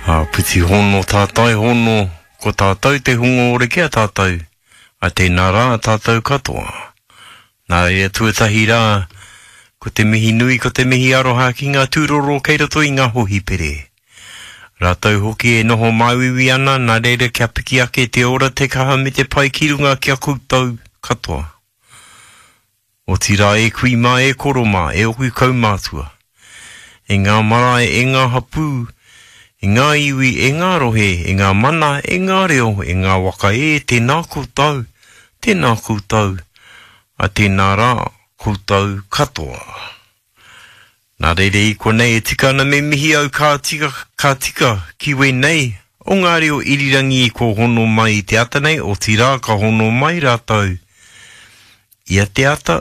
Āpiti hono tātai hono, ko tātou te hunga ora ki a tātou, a tēnā rā tātou katoa. Nā reira tuatahi rā, ko te mihi nui, ko te mihi aroha ki ngā tūroro kei roto i ngā hōhipere. Rātou hoki e noho māuiui ana, nā reira kia piki ake te ora, te kaha me te pai ki runga ki a koutou katoa. Otirā e kui mā, e koro mā, e oku kaumātua, e ngā marae, e ngā hapū, e ngā iwi, e ngā rohe, e ngā mana, e ngā reo, e ngā waka e, tēnā koutou, tēnā koutou, a tēnā rā koutou katoa. Nā reira i konei e tika ana me mihi au ka tika, ka tika ki wēnei o ngā reo irirangi ko hono mai i te ata nei, otirā ka hono mai rātou ia te ata,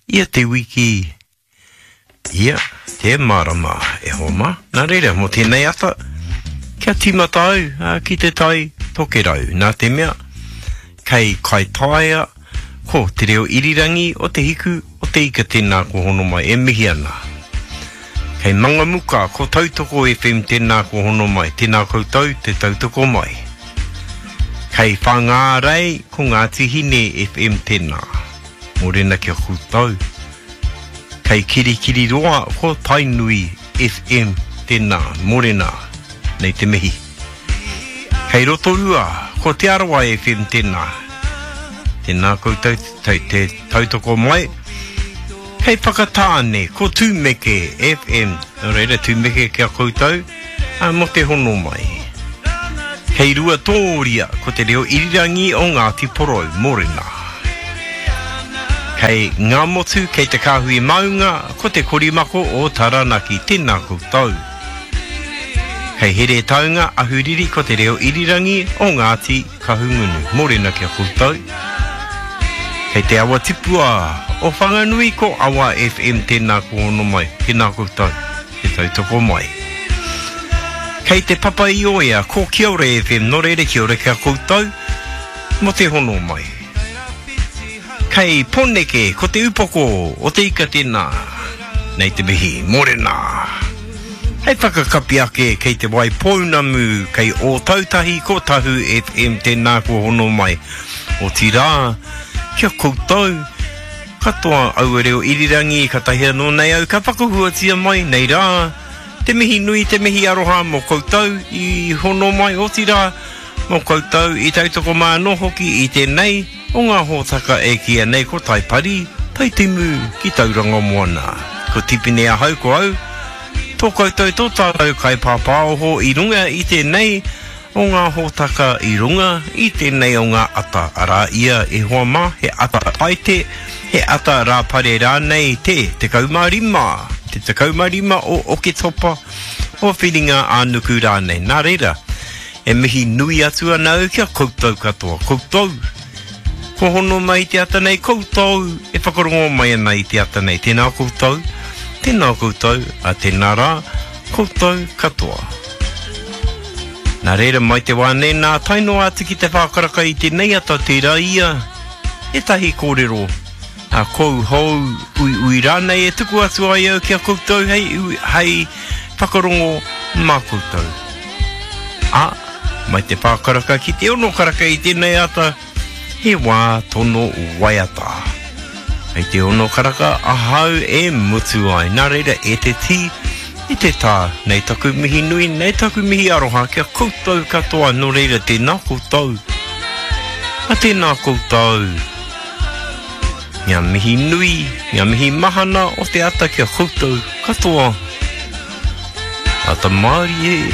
ia te wiki, ia te marama e hoa mā. Nā reira, mō tēnei ata, kia tīmata au ki te tai tokerau, nā te mea, kei Kaitaia, ko te reo irirangi o Te Hiku o te Ika tēnā ko hono mai, e mihi ana. Kei Mangamuka, ko Tautoko FM tēnā ko hono mai, tēnā koutou te tautoko mai. Kei Whangārei, ko Ngāti Hine FM tēnā. Mōrena ki a koutou. Kei Kirikiriroa, ko Tainui FM tēnā. Mōrena, nei te mihi. Kei Rotorua, ko Te Arawa FM tēnā. Tēnā koutou te, te tautoko mai. Kei Whakatāne, ko Tūmeke FM. Nō reira, tūmeke ki a koutou, ā, mō te hono mai. Kei Ruatōria, ko te reo irirangi o Ngāti Porou, mōrena. Kei Ngāmotu, kei Te Kāhui Maunga, ko te Korimako o Taranaki. Tēnā koutou. Kei Heretaunga, Ahuriri, ko te reo irirangi o Ngāti Kahungunu. Mōrena ki a koutou. Kei te awa tipua o Whanganui ko Awa FM tēnā ko hono mai, tēnā koutou, te tautoko mai. Kei te Papa i Oea ko Kiore FM, nō reira kia ora ki a koutou mō te hono mai. Kei Poneke ko te upoko o te ika tēnā, nei te mihi, mōrena. Hei whakakapi ake kei Te Waipounamu, kei Ōtautahi ko Tahu FM tēnā kua hono mai. Otirā, ki a koutou katoa aua reo irirangi katahi anō nei au ka whakahuatia mai nei rā te mihi nui te mihi aroha mō koutou i hono mai otirā mō koutou i tautoko mai anō hoki i tēnei o ngā hōtaka e kīia nei ko Taipari, Taitimu ki Tauranga Moana. Ko Tipene ahau ko au, tō koutou tō tātou kaipāpāoho i runga i tēnei o ngā hōtaka i runga i tēnei o ngā ata, arā ia e hoa mā, he ata Paete, he ata Rāpare rānei te 15, te 15 o Oketopa, o Whiringa ā-nuku rānei. Nā reira, e mihi nui atu ana au ki a koutou katoa, koutou kua hono mai i te ata nei, koutou e whakarongo mai ana i te ata nei. Tēnā koutou, tēnā koutou, a tēnā rā, koutou katoa. Nā reira, mai te wā nei nā, tae noa atu ki te whākaraka i tēnei ata, tērā ia ētahi kōrero a kou hou uiui rānei e tuku atu ai au ki a koutou hei, hei whakarongo mā koutou. Ā, mai te whākaraka ki te ono karaka i tēnei ata, he wā tono waiata. Hei te ono karaka ahau e mutu ai. Nā reira, e te tī, e te tā, nei taku mihi nui, nei taku mihi aroha ki a koutou katoa, nō reira tēnā koutou. A tēnā koutou. Ngā mihi nui, ngā mihi mahana o te ata ki a koutou katoa. Ata mārie.